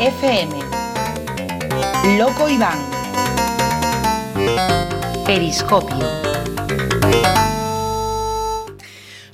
FM. Loco Iván. Periscopio.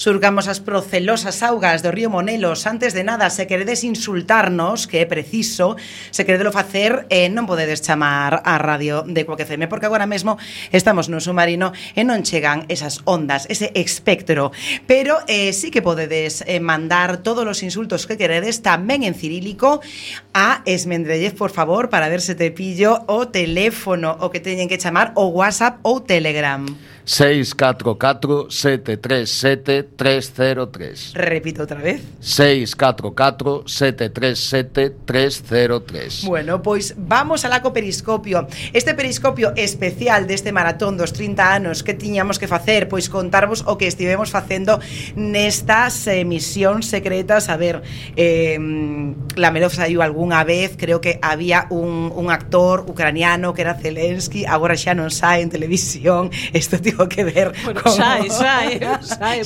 Surcamos as procelosas augas do río Monelos. Antes de nada, se queredes insultarnos, que é preciso, se queredelo facer, non podedes chamar á radio de Cuac FM, porque agora mesmo estamos no submarino e non chegan esas ondas, ese espectro. Pero sí que podedes mandar todos os insultos que queredes, tamén en cirílico, a Esmendrellez, por favor, para ver se te pillo o teléfono, o que teñen que chamar, o WhatsApp ou Telegram. 644-737-303. Repito outra vez. 644-737-303. Bueno, pois vamos alá co periscopio. Este periscopio especial deste maratón dos 30 anos que tiñamos que facer, pois contarvos o que estivemos facendo nestas emisións secretas. A ver, Lamelov saiu algunha vez, creo que había un actor ucraniano que era Zelensky, agora xa non sae en televisión. Isto tivo que ver bueno, con... Sae, xa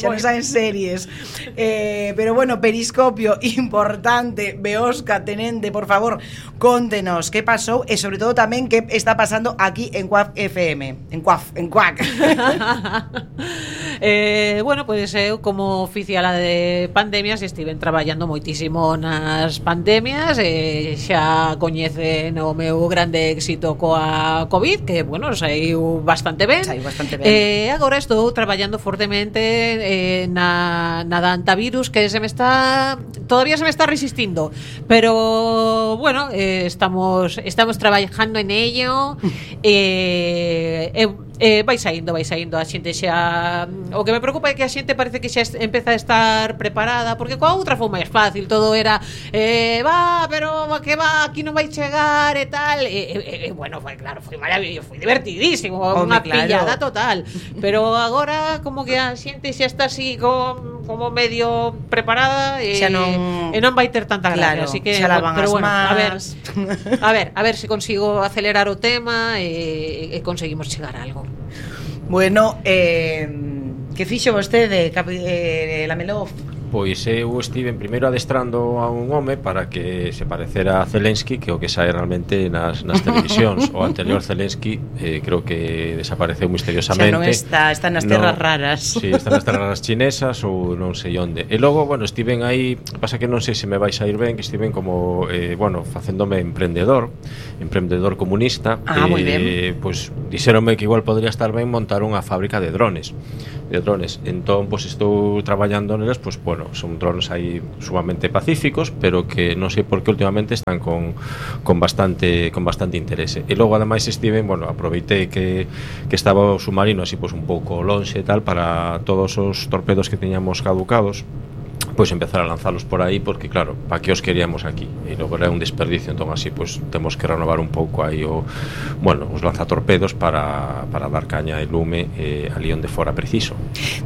non saen series. Pero bueno, periscopio importante. Beosca, tenente, por favor, contenos que pasou e sobre todo tamén que está pasando aquí en Cuac FM. En Cuac. Bueno, pois eu como oficiala de pandemias estiven traballando moitísimo nas pandemias, xa coñecen o meu grande éxito coa COVID, que, bueno, saiu bastante ben. Agora estou traballando fortemente na da antivirus, que todavía se me está resistindo, pero bueno, estamos trabajando en ello. Vai saindo a xente xa. O que me preocupa é que a xente parece que xa empeza a estar preparada, porque coa outra foi máis fácil, todo era pero que va, aquí non vai chegar e tal, bueno, foi claro, foi maravilloso, foi divertidísimo, unha pillada total, pero agora como que a xente xa está así como medio preparada e non vai ter tanta gracia, así que pero bueno, a ver se consigo acelerar o tema e conseguimos chegar a algo. Bueno, que fixo vostede, Lamelov? Pois eu estive primeiro adestrando a un home para que se parecera a Zelensky, que o que sae realmente nas televisións. O anterior Zelensky creo que desapareceu misteriosamente. Xa non está nas terras raras. Sí, está nas terras raras chinesas ou non sei onde. E logo, bueno, estiven aí, pasa que non sei se me vai sair ben, que estiven como, facéndome emprendedor comunista. Moi ben. Pois dixéronme que igual podría estar ben montar unha fábrica de drones. Entón, pois estou traballando nelas, pois, bueno, son drones aí sumamente pacíficos, pero que non sei por que últimamente están con bastante interese. E logo ademais estiven, bueno, aproveitei que estaba o submarino así pois un pouco lonxe e tal, para todos os torpedos que teñamos caducados, pois empezar a lanzalos por aí, porque claro, para que os queríamos aquí, e logo era un desperdicio. Entón así, pois temos que renovar un pouco aí os lanzatorpedos para dar caña e lume ali onde fora preciso.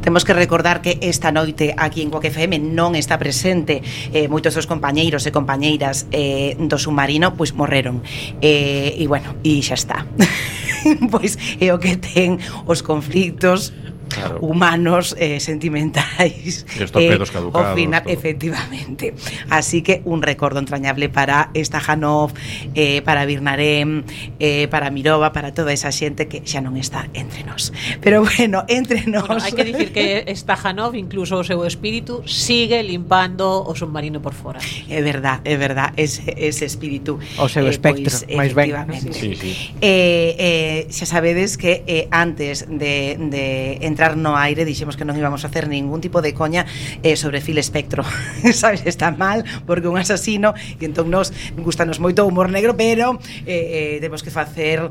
Temos que recordar que esta noite aquí en Cuac FM non está presente moitos dos compañeiros e compañeiras do submarino, pois morreron, e bueno, e xa está. Pois é o que ten os conflictos, claro, humanos, sentimentais, os torpedos caducados, ao final, efectivamente. Así que un recordo entrañable para Stajanov, para Birnarem, para Mirova, para toda esa xente que xa non está entre nós. Pero bueno, entre nós. Bueno, hai que dicir que Stajanov, incluso o seu espírito, sigue limpando o submarino por fora. É verdad, ese espírito. O seu espectro, máis ben. Sí. Xa sabedes que antes de entrar no aire dixemos que non íbamos a hacer ningún tipo de coña sobre Phil Spector. Sabes, está mal porque un asasino, e entón nos gustanos moito o humor negro, pero temos que facer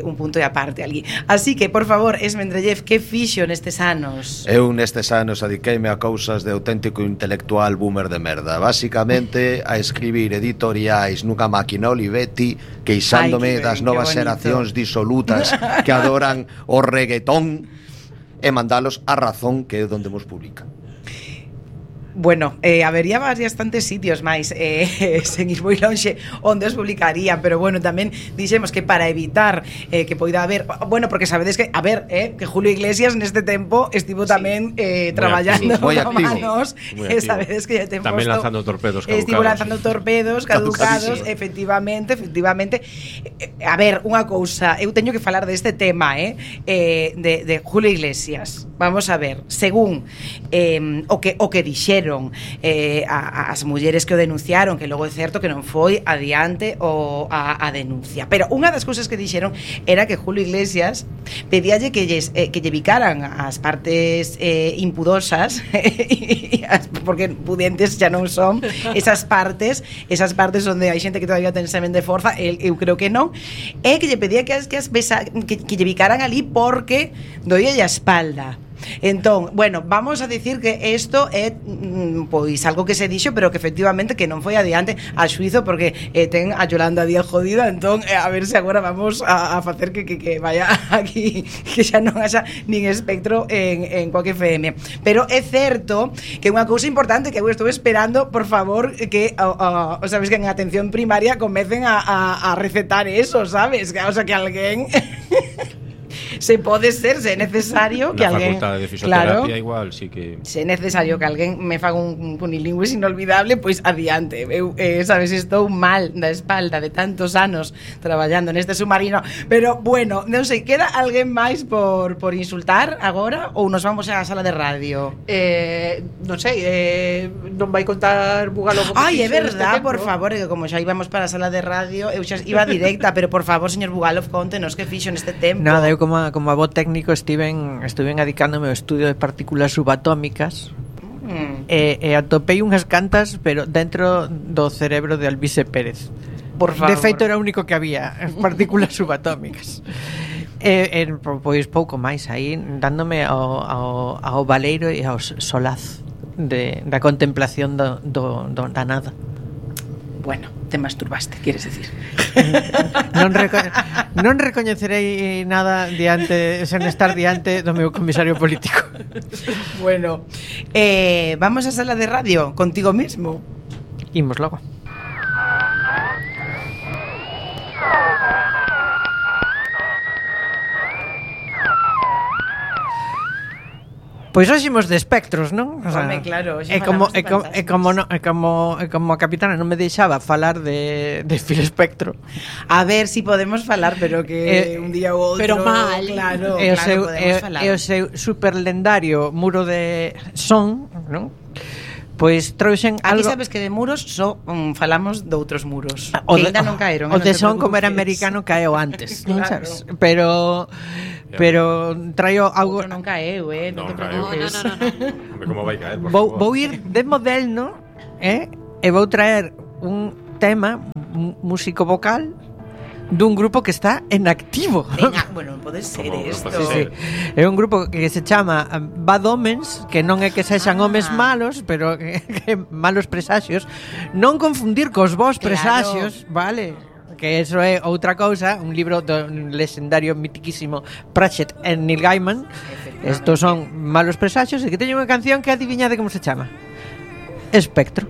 un punto de aparte ali. Así que, por favor, Esmendrellez, que fixo nestes anos? Eu nestes anos adiqueime a cousas de auténtico intelectual boomer de merda. Basicamente a escribir editoriais nunha máquina Olivetti, queixándome das novas xeracións disolutas que adoran o reggaetón, e mandalos a Razón, que é onde nos publican. Bueno, habería bastantes sitios máis sen ir moi lonxe onde os publicarían, pero bueno, tamén dixemos que para evitar que poida haber, bueno, porque sabedes que, a ver, que Julio Iglesias neste tempo estivo tamén traballando con manos, sabedes que ten tamén posto, lanzando torpedos caducados. Estivo lanzando torpedos caducados, efectivamente. A ver, unha cousa, eu teño que falar deste tema, de Julio Iglesias. Vamos a ver, según o que dixeron as mulleres que o denunciaron, que logo é certo que non foi adiante a denuncia, pero unha das cousas que dixeron era que Julio Iglesias pedíalle que lle bicaran as partes impudosas porque pudientes xa non son esas partes onde hai xente que todavía ten semen de forza, eu creo que non, e que lle pedía que lle bicaran ali porque doía a espalda. Entón, bueno, vamos a dicir que isto é pois algo que se dixo, pero que efectivamente que non foi adiante a xuizo, porque ten a Yolanda Díaz jodida. Entón, a ver se agora vamos a facer que vaya aquí, que xa non haxa nin espectro en Quack FM. Pero é certo que unha cousa importante que eu estou esperando, por favor, que sabes que en atención primaria comecen a recetar eso, sabes? O sea, que alguén se pode ser, se é necesario que alguén, facultade de fisioterapia, claro, igual, sí que se é necesario que alguén me faga un cunilingües inolvidable, pois adiante. Eu, sabes, estou mal da espalda de tantos anos traballando neste submarino, pero bueno, non sei, queda alguén máis por insultar agora ou nos vamos á sala de radio? Non sei, non vai contar Bugalov. Ai, é verdad, por favor, que como xa íbamos para a sala de radio, eu xa iba directa, pero por favor, señor Bugalov, contenos que fixo neste tempo. Nada, eu como a voz técnico estiven adicándome ao estudio de partículas subatómicas e atopei unhas cantas, pero dentro do cerebro de Alvise Pérez. Por favor. De feito era o único que había, as partículas subatómicas. Pois pouco máis aí, dándome ao baleiro e ao solaz da contemplación da nada. Bueno, te masturbaste, quieres decir. Non recoñecerei nada sen estar diante do meu comisario político. Bueno, vamos á sala de radio contigo mismo. Imos logo. Pois hoxe imos de espectros, non? O sea, home, claro, como a capitana non me deixaba falar de Phil Spector. A ver si podemos falar, pero que un día ou outro. Pero mal. Claro, podemos falar. E o seu superlendario muro de son, non? Pois trouxen algo. Aquí algo... sabes que de muros só falamos de outros muros que ainda non caeron. O de son, como era americano, caeu antes. Claro. Non sabes? Pero traio algo. Outro non caeu, non te preocupes. No. Como vai caer, por favor. Vou ir de moderno, e vou traer un tema músico vocal dun grupo que está en activo. Bueno, pode ser isto. Sí. É un grupo que se chama Bad Omens, que non é que sexan homes malos, pero que malos presaxios. Non confundir cos vos presaxios, vale? Que eso é outra cousa, un libro do legendario mitiquísimo Pratchett e Neil Gaiman. Estos son malos presaxios, e que teñen unha canción que adiviñade como se chama. Espectro.